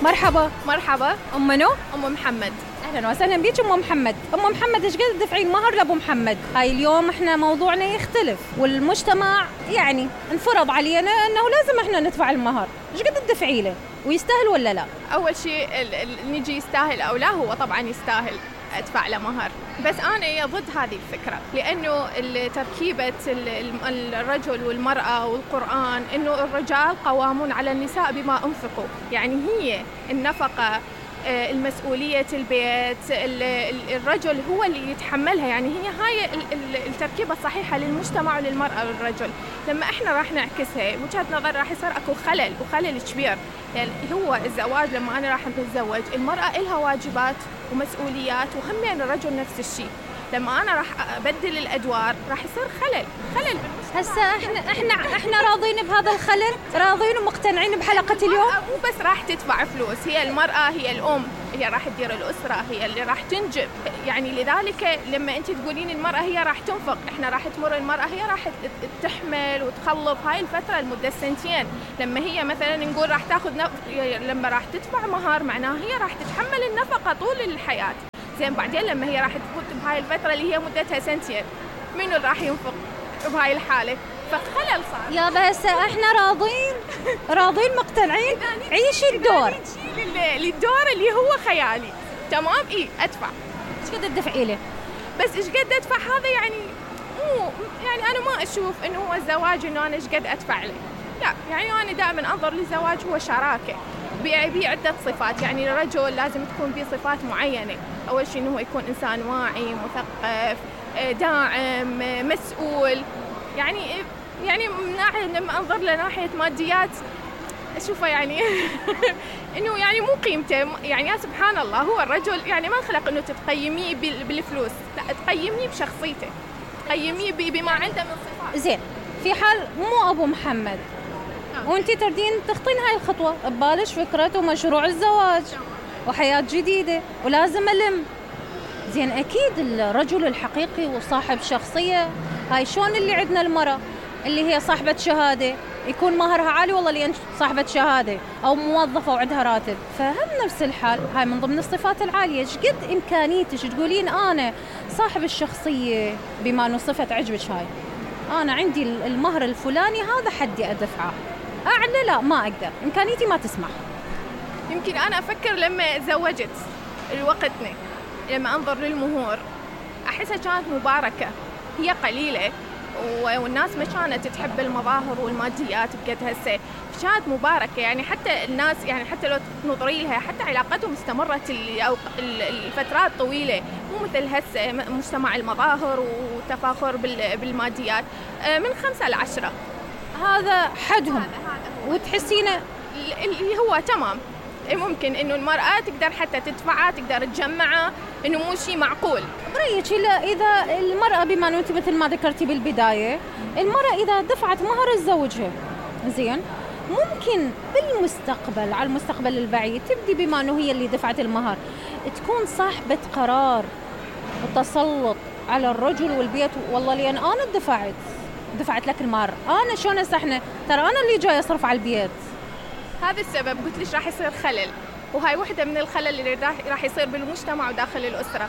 مرحبا. مرحبا. أم منو؟ أم محمد. أهلا وسهلا بيك أم محمد. أم محمد إيش قد تدفعين مهر لأبو محمد؟ هاي اليوم إحنا موضوعنا يختلف، والمجتمع يعني انفرض علينا أنه لازم إحنا ندفع المهر. إيش قد تدفعي له؟ ويستاهل ولا لا؟ أول شيء نجي يستاهل أو لا، هو طبعا يستاهل أدفع له مهر، بس أنا ضد هذه الفكرة، لأنه تركيبة الرجل والمرأة والقرآن إنه الرجال قوامون على النساء بما أنفقوا، يعني هي النفقة، المسؤولية البيت، الرجل هو اللي يتحملها، يعني هي هاي التركيبة الصحيحة للمجتمع وللمرأة والرجل. لما احنا راح نعكسها وجهة نظر راح يصير اكو خلل كبير، يعني هو الزواج لما انا راح نتزوج المرأة إلها واجبات ومسؤوليات وهم الرجل نفس الشيء، لما انا راح ابدل الادوار راح يصير خلل بالمجتمع. هسه احنا راضين بهذا الخلل، راضين ومقتنعين بحلقة اليوم. مو بس راح تدفع فلوس، هي المرأة هي الأم، هي راح تدير الأسرة، هي اللي راح تنجب، يعني لذلك لما أنت تقولين المرأة هي راح تنفق، إحنا راح تمر المرأة هي راح تحمل وتخلف هاي الفترة لمدة سنتين، لما هي مثلا نقول راح تاخذ لما راح تدفع مهر معناها هي راح تتحمل النفقة طول الحياة. زين بعدين لما هي راح تفوت بهاي الفترة اللي هي مدتها سنتين، منو راح ينفق بهاي الحالة؟ فخلل صار. يا بس احنا راضين مقتنعين، عيشي الدور. للدور اللي هو خيالي، تمام؟ أدفع. ايش قد تدفعي له؟ بس ايش قد ادفع هذا يعني مو يعني انا ما اشوف انه هو الزواج انه انا ايش قد ادفع له، لا، يعني انا دائما انظر للزواج هو شراكه بعدة صفات، يعني الرجل لازم تكون به صفات معينة، أول شيء إنه هو يكون إنسان واعي مثقف داعم مسؤول، يعني من ناحية لما أنظر لناحية ماديات أشوفه يعني إنه يعني مو قيمته، يعني يا سبحان الله هو الرجل يعني ما خلق إنه تقيميه بالفلوس، لا تقيميه بشخصيته، تقيميه بما عنده من صفات. زين، في حال مو أبو محمد وانتي تردين تخطين هاي الخطوة ببالش فكرة ومشروع الزواج وحياة جديدة ولازم ألم، زين أكيد الرجل الحقيقي وصاحب شخصية، هاي شون اللي عندنا المرأة اللي هي صاحبة شهادة يكون مهرها عالي والله لأن صاحبة شهادة أو موظفة وعندها راتب، فهم نفس الحال هاي من ضمن الصفات العالية. شقد إمكانيتش تقولين أنا صاحب الشخصية بما أنه صفة عجبك هاي، أنا عندي المهر الفلاني هذا حدي أدفعه، أعلى لا ما أقدر، إمكانيتي ما تسمح. يمكن أنا أفكر لما زوجت الوقتنا، لما أنظر للمهور أحسها كانت مباركة، هي قليلة والناس ما كانت تحب المظاهر والماديات بقد هسه، كانت مباركة، يعني حتى الناس يعني حتى لو تنظري لها حتى علاقتهم استمرت الفترات طويلة، مو مثل هسه مجتمع المظاهر وتفاخر بالماديات. من 5 ل 10 هذا حدهم، وتحسينه اللي هو تمام، ممكن إنه المرأة تقدر حتى تدفعها، تقدر تجمعها، إنه مو شيء معقول. برأيك إذا المرأة بما أنه أنت مثل ما ذكرتي بالبداية، المرأة إذا دفعت مهر زوجها زين ممكن بالمستقبل على المستقبل البعيد تبدي بما أنه هي اللي دفعت المهر تكون صاحبة قرار وتسلط على الرجل والبيت، والله لأن أنا دفعت لك المهر، أنا شلون أسحنا، ترى أنا اللي جاي أصرف على البيت. هذا السبب قلت ليش راح يصير خلل، وهاي واحدة من الخلل اللي راح يصير بالمجتمع وداخل الأسرة،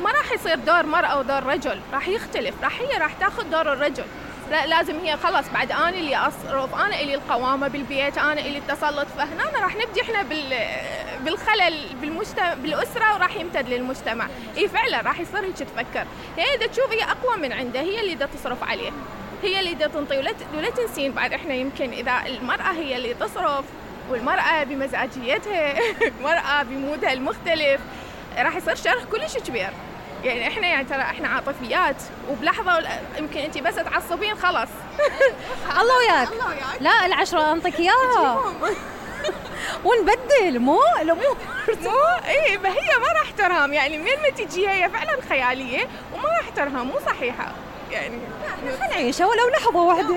ما راح يصير دور مرأة ودور رجل، راح يختلف، هي راح تاخذ دور الرجل، لا لازم هي خلاص بعد أنا اللي أصرف، أنا اللي القوامة بالبيت، أنا اللي التسلط، فهنا راح نبدي إحنا بالخلل بالأسرة وراح يمتد للمجتمع. فعلا راح يصير هيك تفكر، هي إذا تشوف هي أقوى من عنده، هي اللي دا تصرف عليه، هي اللي دا تنطي، ولا تنسين بعد إحنا يمكن إذا المرأة هي اللي تصرف والمرأة بمزاجيتها المرأة بمودها المختلف راح يصير شرخ كلش كبير، يعني احنا يعني ترى احنا عاطفيات وبلحظة يمكن انت بس تعصبين خلاص الله وياك، لا 10 انطيك اياها ونبدل مو ايه، ما هي ما راح ترهم، يعني من ما تجي هي فعلا خيالية وما راح ترهم، مو صحيحة، يعني خلينا نعيشها ولو لحظة واحدة.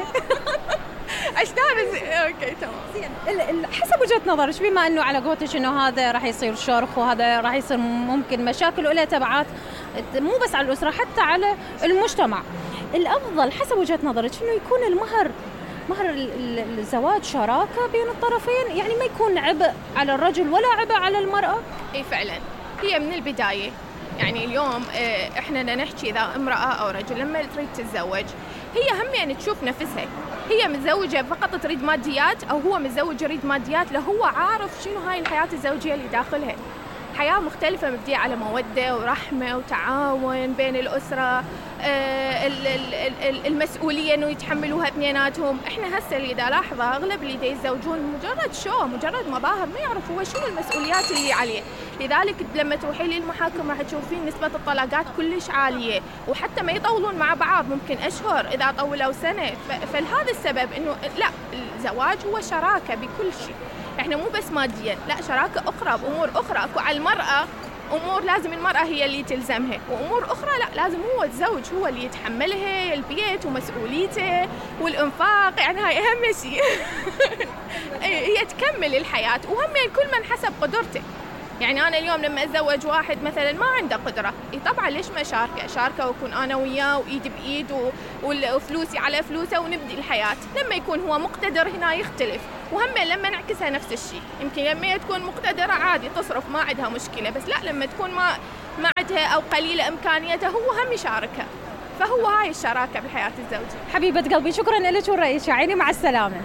اوكي تمام. حسب وجهة نظرك بما انه على قولتك انه هذا راح يصير شرخ وهذا راح يصير ممكن مشاكل وله تبعات مو بس على الأسرة حتى على المجتمع، الأفضل حسب وجهة نظرك انه يكون المهر مهر الزواج شراكة بين الطرفين، يعني ما يكون عبء على الرجل ولا عبء على المرأة. اي فعلا، هي من البداية. يعني اليوم احنا نحكي اذا امرأة او رجل لما تريد تتزوج هي هم يعني تشوف نفسها، هي متزوجة فقط تريد ماديات او هو متزوج يريد ماديات، لو هو عارف شنو هاي الحياة الزوجية اللي داخلها. حياة مختلفة مبدية على مودة ورحمة وتعاون بين الأسرة، المسؤولية إنه يتحملوها اثنيناتهم. إحنا هسه اللي دا لاحظه أغلب اللي دا يتزوجون مجرد مظاهر، ما يعرف هو شنو المسؤوليات اللي عليه. لذلك لما تروحي للمحاكم راح تشوفين نسبة الطلاقات كلش عالية، وحتى ما يطولون مع بعض، ممكن أشهر إذا طولوا سنة. فلهذا السبب إنه لا، الزواج هو شراكة بكل شيء. احنا مو بس ماديا، لا، شراكة أخرى بأمور أخرى. أكو على المرأة أمور لازم المرأة هي اللي تلزمها، وأمور أخرى لا، لازم هو الزوج هو اللي يتحملها، البيت ومسؤوليته والإنفاق. يعني هاي أهم شيء. هي تكمل الحياة، وهم يعني كل من حسب قدرته. يعني أنا اليوم لما أتزوج واحد مثلا ما عنده قدرة، طبعا ليش ما شاركه وأكون أنا وياه وإيد بإيد وفلوسي على فلوسه ونبدي الحياة. لما يكون هو مقتدر هنا يختلف، وهم لما نعكسها نفس الشيء. يمكن لما تكون مقتدرة عادي تصرف ما عندها مشكلة، بس لا، لما تكون ما عندها أو قليلة إمكانياتها هو هم يشاركها. فهو هاي الشراكة بالحياة الزوجية. حبيبة قلبي، شكرا لك ورأيك، عيني، مع السلامة.